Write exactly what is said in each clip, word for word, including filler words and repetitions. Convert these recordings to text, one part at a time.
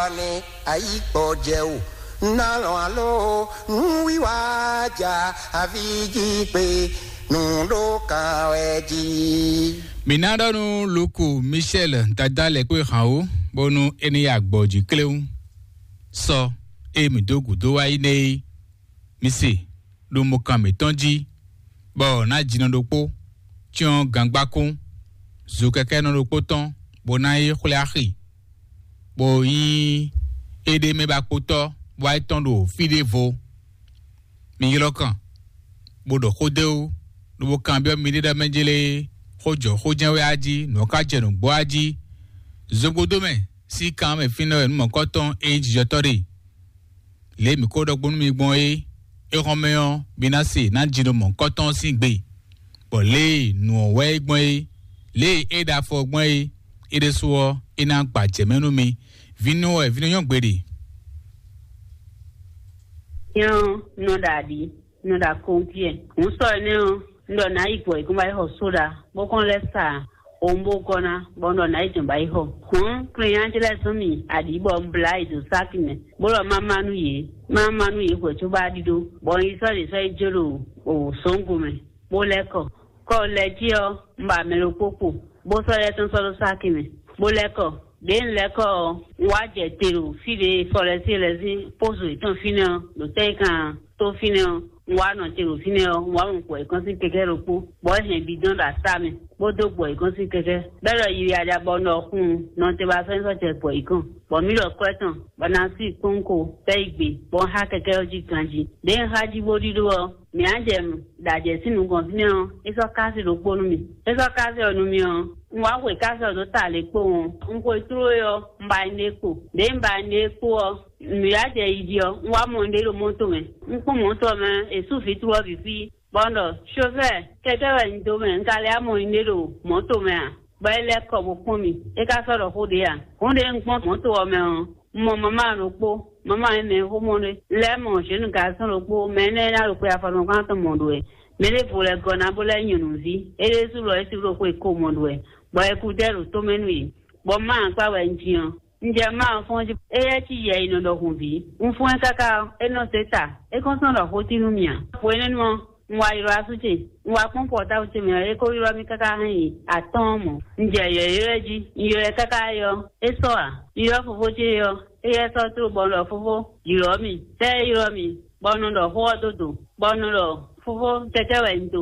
Ani ayi kpɔ jɛ o, nalɔ alo nuwiwa ja avi ji kpe nu ɖo kan wɛ ji. Mǐ ná ɖɔ nú Luku Michel dada lɛ́ kpé hǎn ó, bónú é ní yi agbɔ̌ jí kléwún. Sɔ e mǐ dó gǔdo wá yi nɛ́ é, mi se ɖo mɔkan mǐtɔn jí, bɔ ná jinɔ ɖokpó, cyɔ́n gangbákún, zokɛkɛ́nɔ ɖokpó tɔn, bó ná yi xwlé axi, bó nyí éɖée mɛ ba kpótɔ́, bó wá yi tɔ́n ɖo fí ɖěvo. Mi ylɔ́ kàn, bó ɖɔ xó dó é wú, lobo kanbyɔ́ miɖée ɖɔ mɛ jlé xó jɔ xó jɛ́n wɛ á jí, nǔ ɔ́ ka jɛ nǔgbó á jí. Zogbódó mɛ sín kan mɛ fínɛ́ wɛ nǔ mɔ̌kɔ́tɔn e nyí jijɔtɔ́ ɖe. Lě e mǐ ko ɖɔ gbɔn nú mi gbɔn é, é xɔ́n mɛ ɔ́, mi ná se ná jino mɔ̌hunkɔtɔn sín gbe, bɔ lě e nǔ ɔ́ wɛ é gbɔn é, lě e é ɖo afɔ gbɔn é, é ɖésú ɔ́, é ná gba jɛ mɛ nú mi. Vǐnɔ wɛ vǐnɔ nyɔ́ gbeɖe. Nyɔ́ nɔ ɖo aɖǐ, nɔ ɖo akɔntiɛ. Hǔn sɔ énɛ́ ɔ́, un ɖɔ nǎ yi gbɔ yě kɔn ba yi xɔ sóɖa, bó kɔn lɛ́ sa owunbógɔ́ ná, bɔ un ɖɔ nǎ yi dɔn ba yi xɔ. Hǔn, klinnyá ce lɛ́ɛ zɔ́n mì aɖǐ bɔ un blá yi dǒ sáki mɛ, bó ɖɔ má má nú yě, má má nú yě hwɛ̌ cóbá ɖíɖó, bɔ un yi sɔ́ ɖě sɔ́ yi jó ɖo sǒngo mɛ, bó lɛ́ kɔ. Kɔ lɛ́ jí ɔ́, un ba mɛ ɖokpó kpo, bó sɔ́ yɛ tɔn sɔ́ ɖó sáki mɛ, bó lɛ́ kɔ. Đěe un lɛ́ kɔ ɔ́, un wá jɛ te ɖo fí ɖě e Fɔlɛ́si lɛ́ɛ sín pózo yětɔn fínɛ́ ɔ́, ɖo tɛ́ e kan tó fínɛ́ ɔ́, un wá nɔ te ɖo fínɛ́ ɔ́, un wá mɔ gbɔ̌ yěkɔn sín kɛkɛ́ ɖokpó, bɔ é hɛn bidɔ́n ɖo asá mɛ, bó dó gbɔ̌ yěkɔn sín kɛkɛ́, bɔ é ɖɔ yiyi aɖa bɔ un ɖɔ xun nɔ te ba fɛ́n sɔ́ jɛ gbɔ̌ yěkɔn, bɔ mǐ ɖɔ kwɛ́ tɔn, bɔ ná sí kpónkó tɛ́ yi gbe, bɔ un xá kɛkɛ́ ɔ́ jí ganjí. Đěe un xá jí bó ɖíɖó ɔ́, mǐ á jɛ ɖo ajɛ sín nukɔn fínɛ́ ɔ́, é sɔ́ kási ɖokpó nú mì. É sɔ́ kási ɔ́ nú mì ɔ́, un wá xwe kási ɔ́ dó ta lě kpowun. Un xwe tló é ɔ́, un ba nyí ɖě kpo. Đěe un ba nyí ɖě kpo ɔ́, nǔyá jɛ yi jí ɔ́, un wá mɔ nyɛɖée ɖo mɔ̌to mɛ. Un kpɔ́n mɔ̌to ɔ́ mɛ, è sú vǐtru ɔ́ bǐ fí, bɔ un ɖɔ: "Xofɛ́ɛ, kɛkɛ́ wɛ un dó mɛ, un ka lɛ́ wá mɔ nyɛɖée ɖo mɔ̌to mɛ a?" Bɔ é lɛ́ kɔ bó kpɔ́n mì. É ka sɔ́ ɖɔ xó ɖě a? Hǔn ɖě un kpɔ́n mɔ̌to ɔ́ mɛ ɔ́, un mɔ mamá ɖokpó, mamá e mɛ xó mɔ ɖé. Un lɛ́ mɔ zěnu garɔ́ ɖokpó, mɛ énɛ́ e ná ɖo xwe afɔnukún tɔn mɔ ɖo wɛ. Mɛ ɖěvo lɛ́ gɔ́ ná bó lɛ́ nyɔ̌nuví. É ɖésú lɔ é sí ɖo xwe ko mɔ ɖo wɛ, bɔ é kú dɛ́ ɖo tó mɛ nú yě. Bɔ má akpá wɛ un jin ɔ́, un jɛ má ɔ́ fɔ́n jí. Éyɛ́ cí yɛ e nɔ ɖɔ hǔn ví. Un fɔ́n ɛ káká ɔ́, é nɔ zé ta. É kɔn sɔ́ ɖɔ xó tín nú mì ǎ. Hwenɛ́nu ɔ́, un wá ylɔ́ asú ce. Un wá kpɔ́n pɔtábu ce mɛ ɔ́, é ko ylɔ́ mì káká hɛn yi atɔ́ɔ́n mɔ̌. Un jɛ yɔ̌yɔ́ ɛ jí. Un ylɔ́ ɛ káká yi ɔ́, é sɔ́ ǎ. Un ylɔ́ fofó ce ɔ́, éyɛ́ sɔ́ tló bɔ un ɖɔ: "Fofó, ylɔ̌ mì." Tɛ́ é ylɔ́ mì, bɔ un nɔ ɖɔ xó ɔ́ dó dǒ, bɔ un nɔ ɖɔ: "Fofó, kɛkɛ́ wɛ un dó.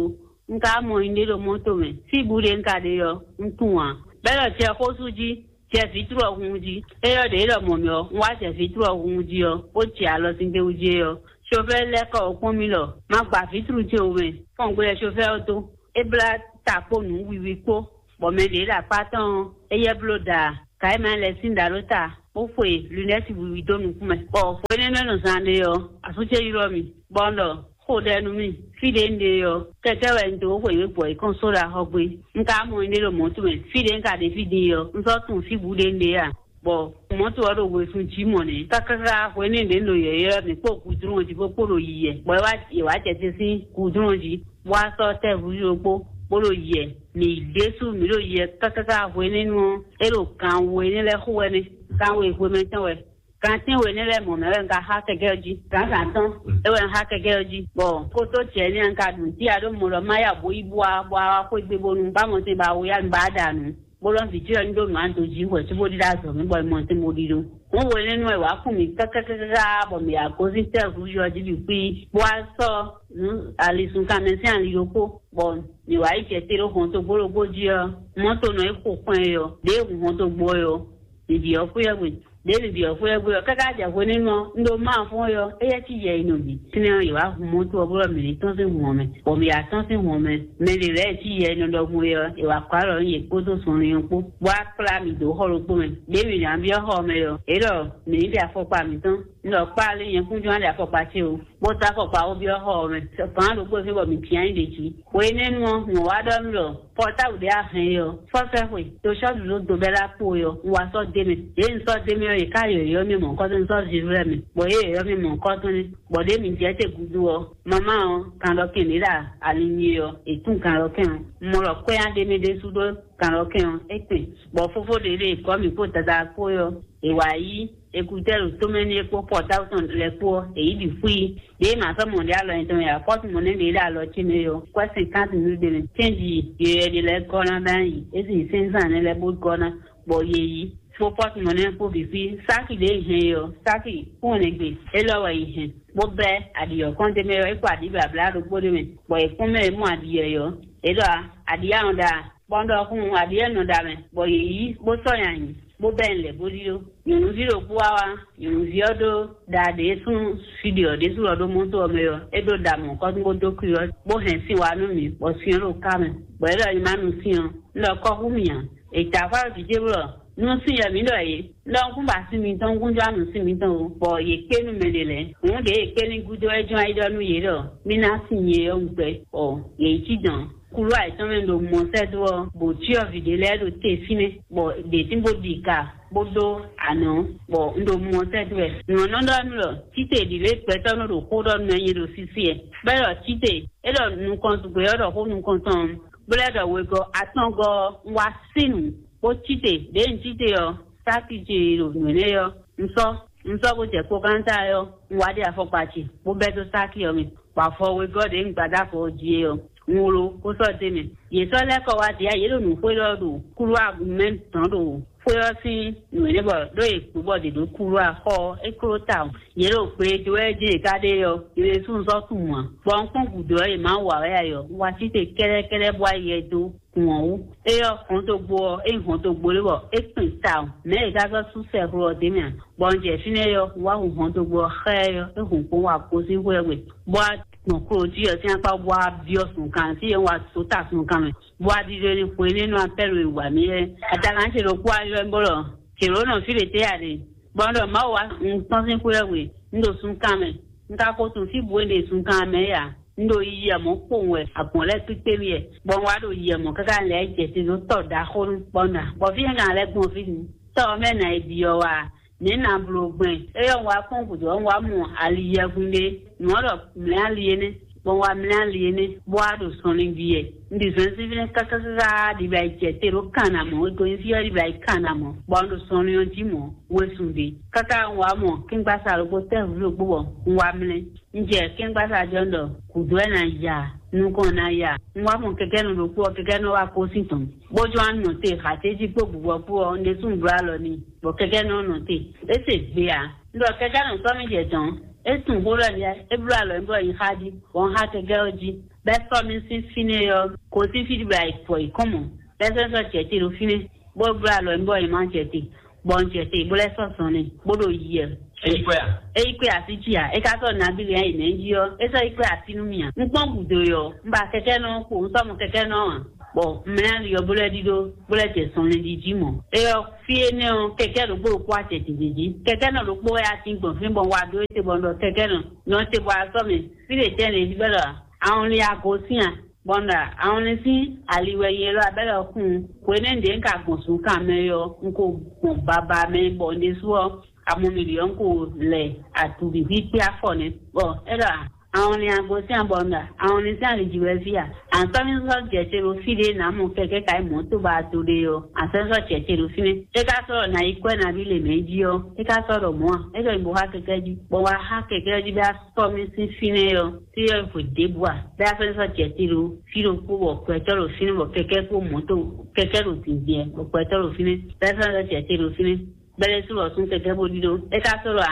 Un ka mɔ nyɛɖée ɖo mɔ̌to mɛ. Síbú ɖé un ka ɖe ɔ́, un tunwun ǎ." Bɔ é ɖɔ: "Jɛ xó sú jí, jɛ vǐtru ɔ́ hun jí." É ɖɔ ɖě é ɖɔ mɔ̌ mì ɔ́, un wá jɛ vǐtru ɔ́ hun jí ɔ́, bó jɛ alɔ sín gbéwú jí é ɔ́, xofɛ́ lɛ́ kɔ wǒ kpɔ́n mì ɖɔ má gba vǐtru ce wú mɛ. Fɔ́n gbe wɛ xofɛ́ ɔ́ dó. É blá ta kpó nǔ wiwi kpó, bɔ mɛ ɖě ɖo akpá tɔn ɔ́, éyɛ́ bló ɖa kayémɛ lɛ́ɛ sín ɖǎ ɖó ta, bó xwe lunɛ́ti wiwi dó nukún mɛ. Bɔ hwenɛ́nu e nɔ zán ɖe ɔ́, asú ce ylɔ́ mì, bɔ un ɖɔ: "Xo ɖɛ nú mì, fí ɖě un ɖe ɔ́, kɛkɛ́ wɛ un dó xweyǐgbe gbɔ yi kɔn só ɖo axɔ gbé. Un ka mɔ nyɛɖée ɖo mɔ̌to mɛ, fí ɖě un ka ɖe fí din ɔ́, un sɔ́ tunwun fí bǔ ɖě un ɖe a?" Bɔ mɔ̌to ɔ́ ɖo wezun jí mɔ̌ nɛ́. Káká hwenɛ́nu ɖě un ɖo yɔ̌yɔ́ mɛ kpó gǔdúnɔ jí kpó kpó ɖo yiyɛ, bɔ é wá yě wá jɛ te sín gǔdúnɔ jí, bó wá sɔ́ tɛ́ vǔ ɖokpó, bó ɖo yiyɛ. Mǐ ɖésú mǐ ɖo yiyɛ káká hwenɛ́nu ɔ́, é ɖo gan we nɛ́ lɛ́ɛ xo wɛ nɛ́, gan we hwemɛ tɔn wɛ. Gan tɛ́nwe nɛ́ lɛ́ɛ mɔ̌ mɛ wɛ un ka xá kɛkɛ́ ɔ́ jí. Gǎnzǎn tɔn é wɛ un xá kɛkɛ́ ɔ́ jí, bɔ kótó jɛ nɛ́ un ka ɖu nǔ cí a ɖó mɔ ɖɔ má ya bó yi bó wá bó wá xwé gbe bónú bá mɔ tɛn ba wo yá nu ba ɖa nǔ. Bó lɔ́ vǐ ce ɔ́ ní ɖó nǔ a dǒ jí hwɛ̌ cóbó ɖíɖá azɔ̌ mɛ bɔ è mɔ tɛn bó ɖíɖó. Hǔn hwenɛ́nu wɛ wǎ kun mì kákákáká bɔ mǐ wá gosín tɛ́ hǔzú ɔ́ jí bǐ xwí, bó wá sɔ́ nǔ alisun kanmɛ sín ali ɖokpó, bɔ mǐ wá yi jɛ te ɖo hɔntogbó ɖokpó jí ɔ́, mɔ̌to nɔ e xo kpɔ́n ɛ ɔ́, ɖěe hun hɔntogbó ɔ́ ɔ́, mǐ byɔ́ xwé ɔ́ gbe. Ɖěe mǐ byɔ́ xwé ɔ́ gbe ɔ́, káká jɛ hwenɛ́nu ɔ́, un ɖo Mawu fɔ́n ɔ́, éyɛ́ cí yɛ e nɔ bǐ. Fínɛ́ ɔ́, yě wá hun mɔ̌to ɔ́ bó ɖɔ mǐ ní tɔ́n sín hǔn ɔ́ mɛ, bɔ mǐ wá tɔ́n sín hǔn ɔ́ mɛ. Mɛ ɖě lɛ́ɛ cí yɛ e nɔ ɖɔ hwe ɔ́, è wǎ kplá alɔ nú yě kpódó zɔnlin ɔ́ kpó, bó wá kplá mǐ dó xɔ ɖokpó mɛ. Ɖěe mǐ ná byɔ́ xɔ ɔ́ mɛ ɔ́, yě ɖɔ mǐ ní ɖe afɔkpa mǐtɔn. Un ɖɔ kpá alé nyɛ kúnjɔ́n á ɖe afɔkpa ce o, bó dó afɔkpa bó byɔ́ xɔ ɔ́ mɛ. Gǎn ɖokpó fí bɔ mǐ cyán nyi ɖě jí. Hwenɛ́nu ɔ́, mɔ̌ wá ɖɔ nú mì ɖɔ pɔ́táblu ɖě a hɛn é ɔ́, fɔ́sɛ́ xwe, to sɔ́ ɖu dó dobɛ́ ɖó akpo é ɔ́, un wá sɔ́ d'é mɛ. Yě un sɔ́ d'é mɛ ɔ́, yě ká yɔ̌yɔ́ mì mɔ̌hunkɔtɔn, un sɔ́ viví lɛ́ɛ mɛ, bɔ yě yɔ̌yɔ́ mì mɔ̌hunkɔtɔn nɛ́. Bɔ ɖěe mǐ jɛ te gúdo ɔ́, mamá ɔ́, kanɖɔkɛn ɖě ɖo ali nyi ɔ́, è tún kanɖɔkɛn ɔ́. Un mɔ ɖɔ kwɛ́ nya ɖ'é mɛ ɖésú ɖó kanɖɔkɛn ɔ́, é kpɛn, bɔ fófó ɖě ɖe gɔ́ mǐ kpó Dadá kpó é ɔ́, è wǎ yí Écouteurs ɖo tomɛ n'i é kpó portable tɔn lɛ́ɛ kpó ɔ́, è yǐ ɖi xwí. Ɖěe mǎ sɔ́ mɔ̌ ɖé alɔ nyi tɔn mɛ ǎ, kɔ́tu mɔ̌ nɛ́ ɖě ɖo alɔ ce mɛ é ɔ́, kwɛ́ cinquante mille ɖé mɛ. Cɛ́nji yɔyɔ̌ ɖé lɛ́ɛ gɔ́ ná ɖ'ayǐ, é sin sɛ́nzán nɛ́ lɛ́ɛ bó gɔ́ ná, bɔ yě yí. Kpó pɔ́tu mɔ̌ nɛ́ kpó bǐ xwí. Sáki ɖě è hɛn é ɔ́, sáki kúnwɛnɛgbè élɔ́ wɛ è hɛn, bó bɛ́ aɖǐ ɔ́ kɔn d'é mɛ ɔ́, é kpó aɖǐ blǎblá ɖokpó ɖé mɛ, bɔ è kpɔ́n mɛ e mɔ aɖǐ ɔ́ yɔ́. É ɖɔ aɖǐ anɔ ɖa, bɔ un ɖɔ hun aɖǐ e nɔ ɖa mɛ, bɔ yě yí bó sɔ́ nyi ayǐ, bó bɛ́ nyi lɛ̌ bó ɖíɖó. Nyɔ̌nuví ɖokpó wá wá, nyɔ̌nuví ɔ́ ɖó ɖa ɖě súnnu fí ɖě ɔ́ ɖésú lɔ ɖó mɔto ɔ́ mɛ ɔ́, é ɖó ɖa mɔ̌kɔ́tún bó dó kú ɔ́, bó hɛn sin wá nú mì, bɔ sin ɔ́ ɖo ká mɛ, bɔ é ɖɔ nyi má nu sin ɔ́, un ɖɔ kɔ́ hú mì ǎ. È ta fá ɖo jǐ ce blɔ nú sin yɔ mǐ ɖɔ yě, un ɖɔ un kún ba sin mitɔn, un kún jɔ nú sin mitɔn o, bɔ yě kpé nú mɛ ɖě lɛ́ɛ. Hǔn ɖě è kpé n'i gúdo wɛ jɔ́n ayi ɖɔ nú yě ɖɔ mí ná sin nyɛ ɔ́ un gbɛ, bɔ yě yi cí dɔ̌n. Kúlú ayǐtɔn mɛ ɖo mɔ̌sɛ́dó ɔ́, bǒ cyɔ́vǐ ɖé lɛ́ɛ ɖo te fínɛ́, bɔ ɖě tín bó ɖi ka bó dó anɔ̌, bɔ un ɖo mɔ̌sɛ́dó wɛ. Nyɔ̌nu ɖɔ nú ɖɔ títè ɖǐlé gbɛtɔ́ nɔ ɖo xó ɖɔ nú ɛnyɛ ɖo sísí ɛ. Bɛ́ ɖɔ títè, é ɖɔ nukɔn zugbe ɔ́ ɖɔ xó nukɔn tɔn, bó lɛ́ ɖɔ wegɔ́ atɔ́ngɔ́ ɔ́, un wá sí nǔ, bó títè, ɖěe un títè ɔ́, sáki ce e ɖo nǔ énɛ́ ɔ́, un sɔ́, un sɔ́ bó jɛ kpókántá ɔ́, un wá ɖe afɔkpa ce, bó bɛ́ dó sáki ɔ́ mɛ, bɔ afɔ wegɔ́ ɖě un gba dó afɔ ɔ́ jí é ɔ́, un wló, bó sɔ́ d'é mɛ. Yě sɔ́ lɛ́ kɔ wá ɖě yě ɖo nǔxwé ɖɔ ɖo kúlú agumɛ dɔn ɖo xwé ɔ́ sín nǔ énɛ́ bɔ ɖó è kpǔ bɔ ɖě ɖó kúlú axɔ ɔ́, é kló tawun. Yě ɖo gbe e dó wɛ jí è ka ɖe ɔ́, yě ɖésú un sɔ́ tunwun ǎ. Bɔ un kpɔ́n gǔdo ɔ́, yě má wa wɛ ayɔ, un wá sí te kɛ́ɖɛ́kɛ́ɖɛ́ bó wá yɛ dó. Hǔn ɔ́ wú. Éyɛ́ ɔ́, hɔntogbo ɔ́, é nyí hɔntogbo lé bɔ é kpin tawun, mɛ̌ è ka sɔ́ sú sɛxlo ɔ́ d'é mɛ ǎ. Bɔ un jɛ fínɛ́ ɔ́, un wá hu hɔntogbo ɔ́ xá ɛ ɔ́, é hun kpɔ́n wá gosín xwé ɔ́ gbe, bó wá gbɔn klojí ɔ́ sín akpá bó wá byɔ́ sunkan, fí e un wá só ta sunkan mɛ, bó wá ɖiɖe ní xwe ní nɔ apɛ́lu e wǎ mì lɛ́ɛ. Adakan ce ɖokpó wá ylɔ́ mì bó ɖɔ: "Jělónɔ, fí ɖě tɛ́ a ɖe?" Bɔ un ɖɔ: "Mawu wá un tɔ́n sín xwé ɔ́ gbe, un ɖo sunkan mɛ, un ka ko tunwun fí bǔ e un ɖe sunkan mɛ é ǎ." Un ɖo yiyi ɛ mɔ̌ kpowun wɛ, agbɔ̌n lɛ́ɛ kpíkpé mì wɛ, bɔ un wá ɖo yiyi ɛ mɔ̌ káká lɛ̌ jɛ te dó tɔ ɖaxó nú kpɔ́nda, bɔ fí e un ka lɛ́ gbɔn fí din, tɔ ɔ́ mɛ nǎ yi ɖi ɔ́ wá, nɛ̌ nǎ bló gbɛn? Éyɛ́ un wá kpɔ́n gǔdo ɔ́, un wá mɔ ali yɛgun ɖé, nǔ ɔ́ ɖɔ mlɛ̌ ali énɛ́, bɔ un wá mlɛ́ ali énɛ́, bó wá ɖo sɔnlin ɖi wɛ. Un ɖi zɔnlin sín fínɛ́ káká káká ɖi bɔ yi jɛ te ɖó kan ná mɔ̌, wegɔ́ nyi fí ɔ́ ɖi bɔ yi kan ná mɔ̌, bɔ un ɖo sɔnlin ɔ́ jí mɔ̌, wezun ɖé. Káká un wá mɔ kɛ́ngbasá ɖokpó tɛ́ hǔ ɖokpó bɔ un wá mlɛ́. Un jɛ kɛ́ngbasá jɔ́n ɖɔ gǔdo wɛ ná ya, nukɔn ná ya. Un wá mɔ kɛkɛ́nɔ ɖokpó ɔ́, kɛkɛ́nɔ wá kó sín tɔn, bó jɔ́n wá nɔ te hǎtéjí kpó bǔbɔ́ kpó ɔ́, un ɖésú un bló alɔ n'i, bɔ kɛkɛ́nɔ ɔ́ nɔ te. É se gbe ǎ. Un ɖɔ kɛkɛ́nɔ sɔ́ mì jɛ dɔ̌n, é tunwun xó lɛ́ɛ nɛ́, é bló alɔ nyi bɔ yi xá jí, bɔ un xá kɛkɛ́ ɔ́ jí, bɔ é sɔ́ mì sín fínɛ́ ɔ́, gosín fí bɔ yi fɔ yi kɔn mɔ̌, bɔ é sɔ́ sɔ́ jɛ te ɖo fínɛ́, bó bló alɔ nyi bɔ yi má jɛ te, bɔ un jɛ te, bó lɛ́ sɔ́ zɔn n'i, bó ɖo yi ɛ. É yi kpé así cí ǎ, é ka sɔ́ nabí lě yi mɛ̌ jí ɔ́, é sɔ́ yi kpé así nú mì ǎ. Un kpɔ́n gǔdo ɔ́, un ba kɛkɛ́nɔ kpo, un sɔ́ mɔ kɛkɛ́nɔ ǎ, bɔ mlɛ́ ali ɔ́ bó lɛ́ ɖíɖó, bó lɛ́ jɛ sɔnlin ɖi jí mɔ̌. É ɔ́, fí énɛ́ ɔ́, kɛkɛ́ ɖokpó ɖokpó wá jɛ dǐndín jí. Kɛkɛ́nɔ ɖokpó wɛ a sín gbɔn fí bɔ un wá ɖó é te bɔ un ɖɔ kɛkɛ́nɔ, nɔ te bɔ a sɔ́ mɛ, fí ɖě tɛ́ lě fí bɛ́ ɖɔ a un lin ago sín a? Bɔ un ɖɔ a un lin sín ali wɛ nyɛ élɔ́ a bɛ́ ɖɔ kún un. Hwenɛ́nu ɖě un ka gbɔn zunkan mɛ é ɔ́, un ko gbɔn baba mɛ bɔ un ɖésú ɔ́, amɔmili ɔ́ un ko lɛ adu bǐ xwíxwí afɔ nɛ́. Bɔ é ɖɔ a? Awɔnlin agosín abɔnda, awɔnlin sín alǐji wɛ fí a? Antɔ́ ní sɔ́ jɛ te ɖo fí ɖé nǎ mɔ kɛkɛ́ ka yi mɔ̌ tó ba do ɖe ɔ́, a sɔ́ ní sɔ́ jɛ te ɖo fínɛ́. É ka sɔ́ ɖɔ nǎ yi kwɛ́ nabí lě mɛ jí ɔ́, é ka sɔ́ ɖɔ mɔ̌ a? É ɖɔ nyi bo xá kɛkɛ́ jí, bɔ wá xá kɛkɛ́ jí bɔ a sɔ́ mì sín fínɛ́ ɔ́, fí ɔ́ hwe ɖěbǔ a? Bɔ a sɔ́ ní sɔ́ jɛ te ɖo fí ɖokpó bɔ gbɛtɔ́ ɖo fínɛ́, bɔ kɛkɛ́ kpó mɔ̌ tó, kɛkɛ́ ɖo dǐndín ɛ, bɔ gbɛtɔ́ ɖo fínɛ́, bɔ a sɔ́ ní sɔ́ jɛ te ɖo fínɛ́. Bɛlɛ́sú lɔ sún kɛkɛ́ bó ɖíɖó. É ka sɔ́ ɖɔ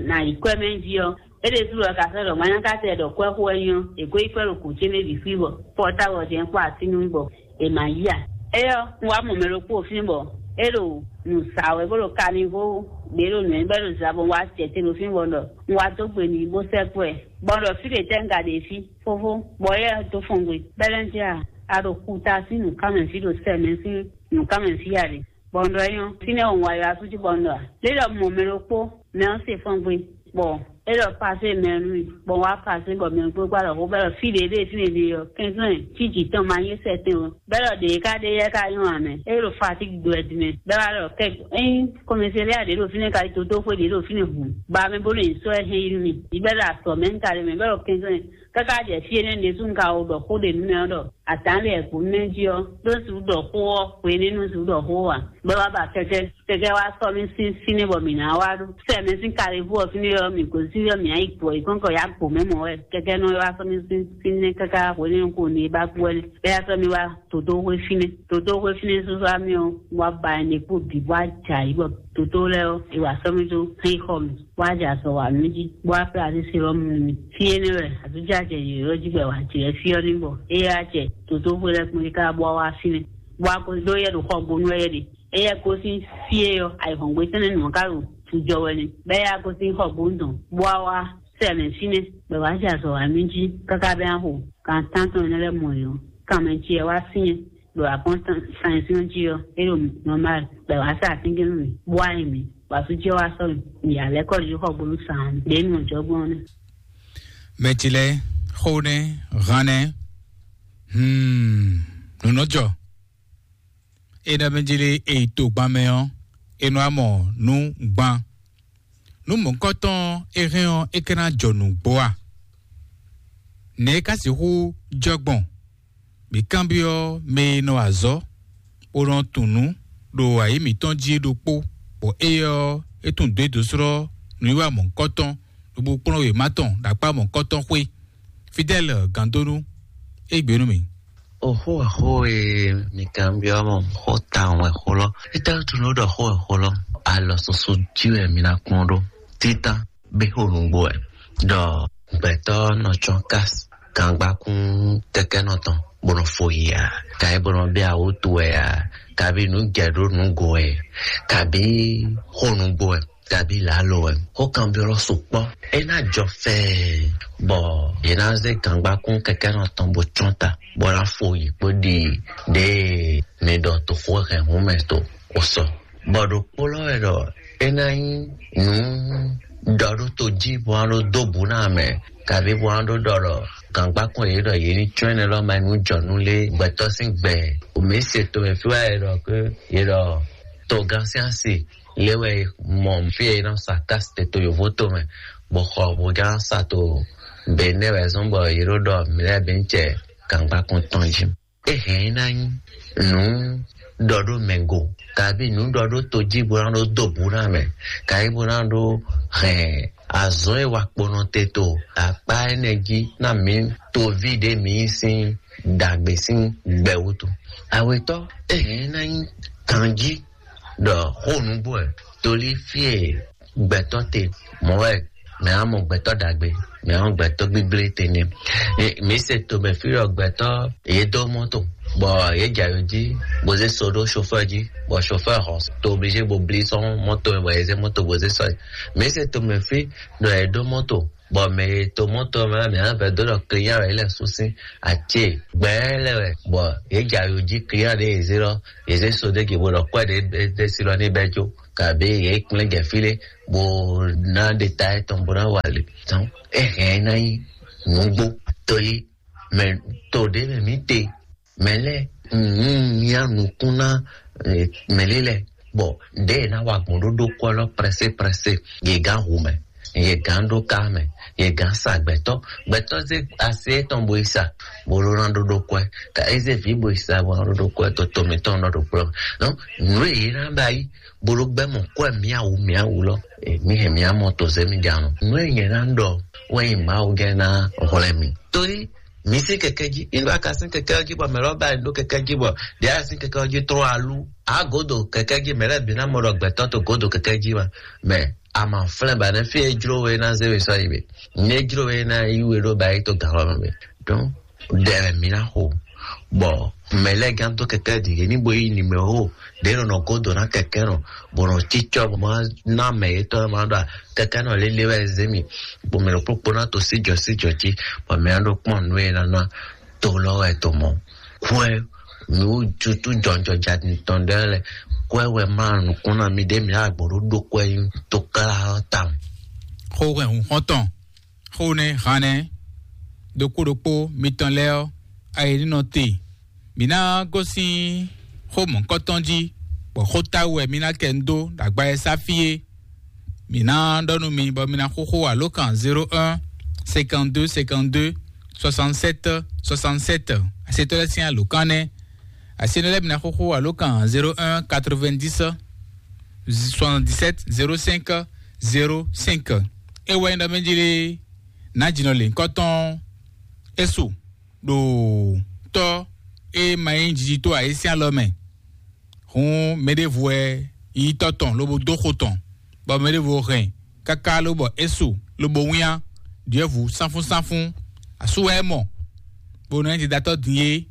nǎ yi kwɛ́ mɛ jí ɔ́, é ɖésú lɔ ka sɔ́ ɖɔ manyákátɛ ɖɔ kwɛ́ xo wɛ nyí ɔ́, è ko yi kwɛ́ ɖo gǔ ce mɛ bǐ xwí bɔ pɔ́táwɔ jɛ́n kpó atín nú bɔ è ma yí a? Éyɛ́ ɔ́, un wá mɔ mɛ ɖokpó fín bɔ é ɖo nǔ sa wɛ bó ɖo kanixó ɖě ɖo nǔ e bɔ é ɖo zabɔ wá acɛ̌ te ɖo fínbɔ́n ɖɔ un wá dó gbe n'i bó sɛ́ kú ɛ, bɔ un ɖɔ fí ɖě tɛ́ un ka ɖe fí, fófó, bɔ éyɛ́ dó fɔn gbe. Bɛ́lɛ́njɛ a, a ɖo xuta sín nǔkanmɛ fí ɖo sɛ mɛ sín nǔkanmɛ fí a ɖe? Bɔ un ɖɔ é nyɔ́. Fínɛ́ ɔ́, un wá ylɔ́ asú jí bɔ un ɖɔ, lě ɖɔ un mɔ mɛ ɖokpó, mɛ ɔ́ se fɔ́n gbe, bɔ É ɖɔ pasé mɛ nú mì, bɔ wá pasé bɔ mɛ kpó gbá ɖɔ xó bɛ́ ɖɔ fí ɖě ɖe fínɛ́ ɖe ɔ́, kɛnklɛ́n fí jǐ tɔn ma nyí sɛtɛn ɔ́. Bɛ́ ɖɔ ɖě ká ɖe yɛ ká nyɔ́ ǎ mɛ. É ɖo fatík dó wɛ din mɛ. Bɛ́ wá ɖɔ kɛ ényí kɔmɛsɛ́lɛ́ ɖě ɖo fínɛ́ ka yi tótó xwé ɖě ɖo fínɛ́ hǔn. Ba mɛ bó nɔ nyi sɔ́ ɛ hɛn yi nú mì. Yi bɛ́ ɖɔ asɔ mɛ un ka ɖe mɛ. Bɛ́ ɖɔ kɛnklɛ́n káká jɛ fí énɛ́ ɖésú un ka wo ɖɔ xó ɖě nú mɛ ɔ́ ɖɔ atǎn lɛ kpo mɛ jí ɔ́, ɖó sixú ɖɔ xó ɔ́, hwenɛ́nu sixú ɖɔ xó ɔ́ ǎ. Bɛ́ wá ba kɛkɛ́. Kɛkɛ wá sɔ́ mì sín fínɛ́ bɔ mǐ ná wá ɖó. Sɛ mɛ sín kalifú ɔ́ fínɛ́ ɔ́, mǐ gosín ɔ́, mǐ ná yi gbɔ yi kɔ́nkɔ yá gbo mɛ mɔ wɛ. Kɛkɛ nɔ wá sɔ́ mì sín fínɛ́ káká hwenɛ́nu ko ní é bá kú wɛ nɛ́. Bɛ́ yá sɔ́ mì wá dǒdó xwé fínɛ́. Dǒdó xwé fínɛ́ súsú wá mì ɔ́, wá ba ɛnɛ kpó bǐ bó wá jɛ ayǐ bɔ dǒdó lɛ́ɛ ɔ́, è wǎ sɔ́ mì dó xí xɔ mì, bó wá jɛ azɔ̌ wá nú jí, bó wá plá así Silɔ́mu nú mì. Fí énɛ́ wɛ àtúnjájɛ yǒyó jí bɔ è wá jɛ fí ɔ́ ní bɔ é wá jɛ dǒdó xwé lɛ́ɛ kpó é ká bó wá wá fínɛ́. Bó wá ko dó yɛ ɖo xɔgbónú wɛ yɛ ɖe. Éyɛ́ gosín fí e ɔ́, ayǐhɔ́ngbe tɛ́nnɛ nǔ ɔ́ ka ɖo jijɔ wɛ nɛ́. Bɔ éyɛ́ gosín xɔ gbóntɔn, bó wá wá sɛ mɛ fínɛ́, bɔ è wǎ jɛ azɔ̌ wá mì jí káká bɛ́ axo kan tántɔn énɛ́ lɛ́ɛ mɔ yě ɔ́, kan mɛ ce wá syɛ́n ɖo akɔ́ntan jí ɔ́, é ɖo nɔmal, bɔ è wǎ sa atínkɛ́nnú mì, bó wá nyi mǐ, bɔ asú ce wá sɔ́ mì, mǐ yǎ lɛ́ kɔ jí xɔ gbónú sa ɔ́, ɖě nǔ ɔ́ jɔ gbɔn ɔ́ nɛ́. Mɛ ce lɛ́ɛ, xó nɛ́, han nɛ́, hmm, nǔ nɔ jɔ. È nɔ mɛ jlé è yi togban mɛ ɔ́, è nɔ wá mɔ nǔ gban. Nǔ mɔ̌hunkɔtɔn ɔ́, é hɛn ɔ́, é ka ná jɔ nǔgbó a? Nɛ̌ é ka sixú jɔ gbɔn? Mǐ kanbyɔ́ mɛ e nɔ wa azɔ̌, bó nɔ tunwun nǔ ɖo ayǐ mǐtɔn jí é ɖokpó, bɔ éyɛ́ ɔ́, é tunwun dǒ é dǒ slɔ́ nǔwiwa mɔ̌hunkɔtɔn, lobo kplɔ́n wěma tɔn ɖo akpá mɔ̌hunkɔtɔn xwé. Fidɛ́l Gandonu, é gbe nú mì. Oxó wɛ xó e mi kanbyɔ́ mɔ xó tawun wɛ xó lɔ. Étɛ́ wútu nú ɖɔ xó wɛ xó lɔ? Alɔ soso jí wɛ mi ná kplɔ́n ɖó. Títán bí xó nǔgbó wɛ. Ɖɔ gbɛtɔ́ nɔ tsɔ́n ká gangbákún kɛkɛ́nɔ tɔn bó nɔ fo yi a? Kayi bó nɔ bɛ́ awútu wɛ a? Kabi nǔ jɛ ɖó nǔgo wɛ? Kabi xó nǔgbó wɛ? Kabi lǎlo wɛ? Xó kanbyɔ́ lɔ sukpɔ́. É ná jɔ fɛɛ bɔ yě ná zé gangbákún kɛkɛ́nɔ tɔn bó tsɔ́n ta, bó ná fo yi kpó ɖi ɖěe mi ɖɔ toxo hɛn hǔn mɛ to o sɔ. Bɔ ɖokpó lɔ wɛ ɖɔ é ná nyí nǔ ɖɔ ɖó to jí bó ná ɖó dó bǔ ná mɛ, kabi bó ná ɖó ɖɔ ɖɔ gangbákún yě ɖɔ yě ní tsɔ́n énɛ́ lɔ ma nyí nǔ jɔ nú lé gbɛtɔ́ sín gbɛ. Mǐ se to mɛ fí wá yě ɖɔ ké yě ɖɔ togán sín asi lé wɛ mɔ fí e nɔ sa kásite to yǒvó to mɛ, bɔ xɔ bó gán sa to Benɛ́ wɛ zɔ́n bɔ yě ɖó ɖɔ mǐ lɛ́ɛ bǐ cɛ gangbákún tɔn jí. É hɛn é ná nyí nǔ ɖɔ ɖó mɛ go, kabi nǔ ɖɔ ɖó to jí bó ná ɖó dó bǔ ná mɛ, kayi bó ná ɖó hɛn azɔ̌ e wa kponɔ te to akpá énɛ́ jí ná mǐ toví ɖě mǐ nyí sín ɖagbe sín gbɛ wútu. Awětɔ́, é hɛn é ná nyí ganjí ɖɔ xó nǔgbó wɛ tolí fí e gbɛtɔ́ te mɔ̌ wɛ mɛ á mɔ gbɛtɔ́ ɖagbe, mɛ á mɔ gbɛtɔ́ gbígblé te nɛ́. Mǐ se tomɛ fí ɖɔ gbɛtɔ́ yě dó mɔ́to bɔ yě jɛ ayo jí bó zé so ɖó chauffeur jí, bɔ chauffeur hɔn to obligé bo blí sɔ́ mɔ́to mɛ bɔ yě zé mɔ́to bó zé sɔ́ yi. Mǐ se tomɛ fí ɖɔ yě dó mɔ́to bɔ mɛ e to mɔ́to mɛ mɛ á vɛ dó ɖɔ client wɛ yě lɛ sú sín acé gbɛɛ lɛ wɛ bɔ yě jɛ ayo jí client ɖé yě zé lɔ yě zé so ɖé gě bó ɖɔ kwɛ ɖé ɖé sí lɔ ní bɛ jó. Kabi yě kplé jɛ fí lé bó ná ɖe ta étɔn bó ná wa lě tɔn. É hɛn é ná nyí nǔgbó tolí mɛ to ɖě mɛ mǐ te mɛ lɛ́ nǔ mía nukún ná mɛ lé lɛ bɔ ɖěe ná wa gbɔn ɖó ɖó kɔ lɔ prɛsé prɛsé yě gán hu mɛ, yě gán ɖó ká mɛ, yě gán sa gbɛtɔ́ gbɛtɔ́ zé asi étɔn bo yi sa bó ɖó ná ɖó ɖó kɔɛ ka é zé vǐ bo yi sa bó ná ɖó ɖó kɔɛ tó tomɛ tɔn nɔ ɖo kplɔ́. Donc nǔ e yě ná ba yi bó ɖó gbɛ́ mɔ kɔɛ miawu miawu lɔ mǐ hɛn mía mɔ to zé mí ɖe anɔ. Nǔ e nyɛ ná ɖɔ wɛ nyi Mawu gɛ́ ná hwlɛ́n mì. Torí mǐ sín kɛkɛ́ jí, ìlúwa ka sín kɛkɛ́ jí bɔ mɛ lɔ ba ɖó kɛkɛ́ jí bɔ ɖě a sín kɛkɛ́ jí trɔ́ alú. A godo kɛkɛ́ jí mɛ lɛ́ɛ bǐ ná mɔ ɖɔ gbɛtɔ́ to godo kɛkɛ́ jí ma. Mɛ a ma flɛ́n ba nɛ́ fí e jló we ná zé we sɔ́ yi mɛ. Né jló we ná yí we ɖó ba yi to gǎn lɔ mɛ. Donc ɖɛ wɛ mǐ ná xo bɔ mɛ lɛ́ɛ gán dó kɛkɛ́ ɖi yě ní bo yí nimero ɖě nɔ nɔ godo ná kɛkɛ́ nɔ bɔ nɔ cícɔ bɔ má ná mɛ yětɔn ma ɖɔ kɛkɛ́ nɔ lélé wɛ zé mi bɔ mɛ ɖokpó kpó ná to síjɔ síjɔ jí bɔ mɛ ná ɖo kpɔ́n nǔ e ná ná to lɔ wɛ to mɔ. Kwɛ mi wú tutú jɔnjɔja tɔn ɖe lɛ kwɛ wɛ má nukún ná mi ɖé mi ná gbɔ ɖó ɖó kwɛ nyí tó kára ɔ́ tawun. Xó hwɛhun xɔ́ntɔn, xó nɛ́ han nɛ́, ɖokpó ɖokpó mitɔn lɛ́ɛ ɔ́, ayi ní nɔ te. Mǐ ná gosín xó mɔ̌hunkɔtɔn jí, bɔ xó táwú wɛ mǐ ná kɛ nu dó ɖo agba e sá fí é. Mǐ ná ɖɔ nú mi bɔ mi ná xóxó alǒkan zéro un, cinquante-deux, cinquante-deux, soixante-sept, soixante-sept. Asetɔ́ lɛ́ɛ sín alǒkan nɛ́. Asetɔ́ lɛ́ɛ mi ná xóxó alǒkan zéro un, quatre-vingt-dix, soixante-dix-sept, zéro cinq, zéro cinq. É wɛ nyí ɖɔ mɛ jí lé, nǎ jǐnɔ lěhunkɔtɔn é su ɖo tɔ́ e ma nyí jiji tó ǎ é sín alɔ mɛ. Hǔn mɛɖěvo wɛ yí tɔ́ tɔn lobo dó xo tɔn, bɔ mɛɖěvo hɛn káká lobɔ é su lobo wínnyá ɖyɔ̌vǔ sánfúnsánfún. Asú wɛ é mɔ, bó nɔ nyí didatɔ́ din é.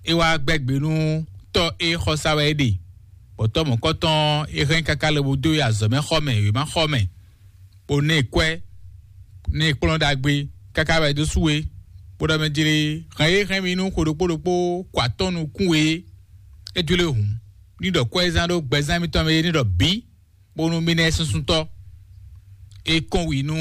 É wá gbɛ́ gbe nú tɔ́ e xɔsá wɛ é ɖe, bɔ tɔ́ mɔ̌kɔtɔn é hɛn káká lobo dó yi azɔ̌ mɛ xɔ mɛ, wěma xɔ mɛ, bó ná ɛ kwɛ́, ná ɛ kplɔ́n ɖagbe káká wɛ dó sú we, bó ɖɔ mɛ jlé hɛn e hɛn mi nú xwe ɖokpó ɖokpó kɔ atɔ́ nukún we é. É jló hǔn ní ɖɔ kwɛ́zán ɖó gbɛzán mitɔn mɛ é ní ɖɔ bǐ, bónú mì ná ɛ súnsúntɔ́. É kɔn wi nú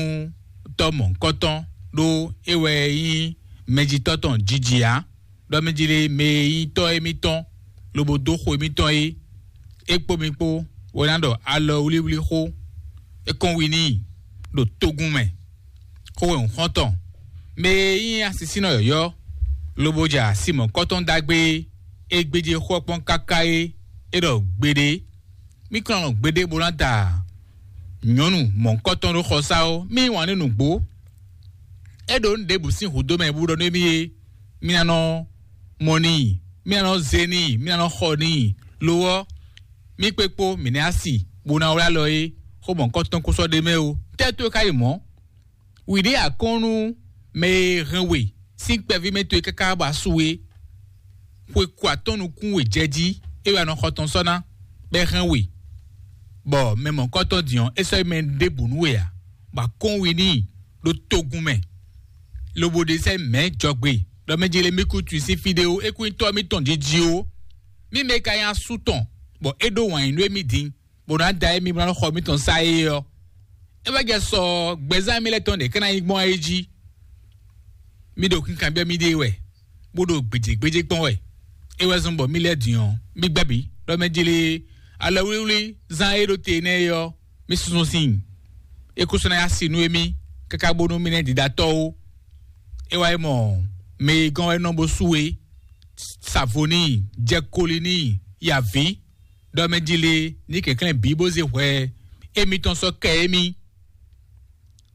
tɔ́ mɔ̌hunkɔtɔn, ɖó é wɛ nyí mɛjitɔ́ tɔn jiji ǎ, ɖɔ mɛ jlé mɛ e nyí tɔ́ émítɔn lobo dó xo émítɔn é. É kpó mi kpó wɛ ná ɖɔ alɔ wlíwlí xó. É kɔn wi n'i ɖo togun mɛ. Xó wɛ un xɔ́n tɔn. Mɛ e nyí asisínɔ yɔ̌yɔ́, lobo ja asi mɔ̌kɔtɔn ɖagbe é, é gbéjé xó ɔ́ kpɔ́n káká é, é ɖɔ gbeɖé. Mí kplɔ́n gbeɖé bó ná da nyɔ̌nu mɔ̌kɔtɔn ɖó xɔsá ó. Mí yí wǎn nú nǔgbó. É ɖo nǔ ɖěbǔ sín hǔdó mɛ bó ɖɔ nú émí é, mí ná nɔ mɔ n'i, mí ná nɔ zé n'i, mí ná nɔ xɔ n'i. Lo ɔ́, mí kpé kpó mǐ nɛ́ asi bó ná wlá alɔ é, xó mɔ̌kɔtɔn kó sɔ́ ɖ'é mɛ ó. Tɛ́ towe ka yi mɔ̌? Wǐ ɖé akɔ́n nú mɛ e hɛn we sín kpɛví mɛ towe káká bɔ asu é. Xwe kɔ atɔ́ nukún we jɛ jí, é wɛ a nɔ xɔ tɔn sɔ́ ná, bɔ é hɛn we, bɔ mɛ mɔ̌kɔtɔn din ɔ́, é sɔ́ yi mɛ ɖěbǔ nú we ǎ, bɔ a kɔn wi n'i ɖo togun mɛ, lobo ɖe sɛ́ mɛ̌ jɔgbe, ɖɔ mɛ jele mí kú tui sín fí ɖé ó, é kú nyí tɔ́ mítɔn jiji ó. Mí mɛ ka nyí asú tɔn, bɔ é ɖó wǎn yí nú émí din, bó ná da émí bó ná xɔ mítɔn sá é ɔ́, é wá jɛ sɔ gbɛzán mí lɛ́ɛ tɔn ɖě ká ná nyí gbɔn é jí. Mí ɖo kankanbyɔ́ mí ɖée wɛ, bó ɖo gbějégbéjé kpɔ́n wɛ. É wɛ zɔ́n bɔ mí lɛ́ɛ din ɔ́, mí gbɛ́ bǐ, ɖɔ mɛ jlé alɔ wlíwlí zán e ɖo te nɛ́ é ɔ́, mí súnsún síin. É kúsú ná yá si nú émí, káká bónú mí ná ɖiɖa tɔ́ ó. É wá yi mɔ mɛ e gɔ́n wɛ nɔ bó sú é, sa vo n'i, jɛ koli n'i, yi avǐ, ɖɔ mɛ jí lé ní kɛnklɛ́n bǐ bó zé hwɛ émítɔn sɔ́ kɛ émí.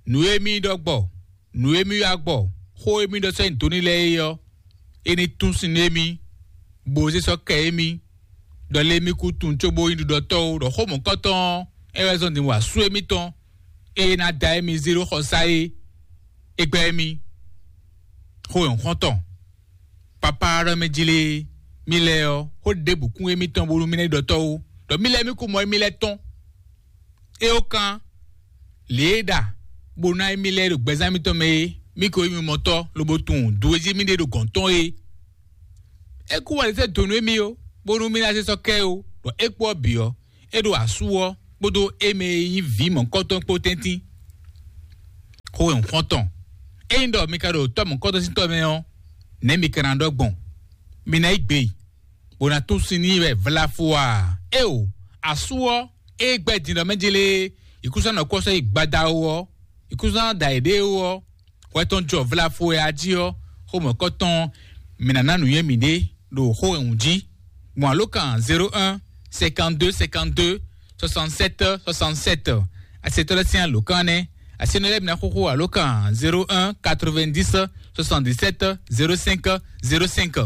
Nǔ e mí ɖɔ gbɔ, nǔ e mí wá gbɔ, xó e mí ɖɔ sɔ́ nyi do ní lɛ́ɛ é ɔ́, é ní tún sin nú émí, bó zé sɔ́ kɛ émí, ɖɔ lé mí kú tunwun cóbó nyí ɖuɖɔtɔ́ ó, ɖɔ xó mɔ̌kɔtɔn ɔ́, é wɛ zɔ́n din wa sú émítɔn, é ná da émí zé ɖó xɔsá é, é gbɛ́ émí. Xó nyɔ̌xɔ́ntɔn. Papa ɖɔ mɛ jí lé, mí lɛ́ɛ ɔ́, xó ɖěbǔ kún émítɔn bónú mí ná yi ɖɔ tɔ́ ó, ɖɔ mí lɛ́ɛ mí kú mɔ émí lɛ́ɛ tɔn. É ó kán lě e ɖa bó ná émí lɛ́ɛ ɖo gbɛzán mítɔn mɛ é, mí ko émí mɔ tɔ́ lobo tunwun dǔ e jí mí ɖe ɖo gɔ̌n tɔn é. É kú wɛ lě sɛ́ dǒ nú émí ó, bónú mí ná zé sɔ́ kɛ é ó, ɖɔ é kpó ɔ́ bǐ ɔ́, é ɖo asú ɔ́ kpódó é mɛ e nyí vǐ mɔ̌kɔtɔn kpó tɛ́ntin. Xó e un xɔ́n tɔn. Ényí ɖɔ mi ka ɖo tɔ́ mɔ̌kɔtɔn sín tɔ́ mɛ ɔ́, nɛ̌ mi ka ná ɖɔ gbɔn? Mi ná yí gbe, bó ná tún sin n'i wɛ vlafo a? Éeǒ, asú ɔ́, é gbɛ́ din ɖɔ mɛ jélé, ìkúsánɔ kɔ́ sɔ́ yi gbada ó ɔ́, ìkúsánɔ da yěɖée ó ɔ́, hwɛ tɔn jɔ vlafo e a jí ɔ́, xó mɔ̌kɔtɔn, mǐ ná ná nǔnywɛ́ mǐɖée ɖo xó wɛ wǔ jí. Gbɔn alǒkan zéro un, cinquante-deux, cinquante-deux, soixante-sept, soixante-sept. Asetɔ́ lɛ́ɛ sín alǒkan nɛ́. Asenɔ lɛ́ɛ bǐ ná xóxó alǒkan zéro un, quatre-vingt-dix, soixante-dix-sept, zéro cinq, zéro cinq.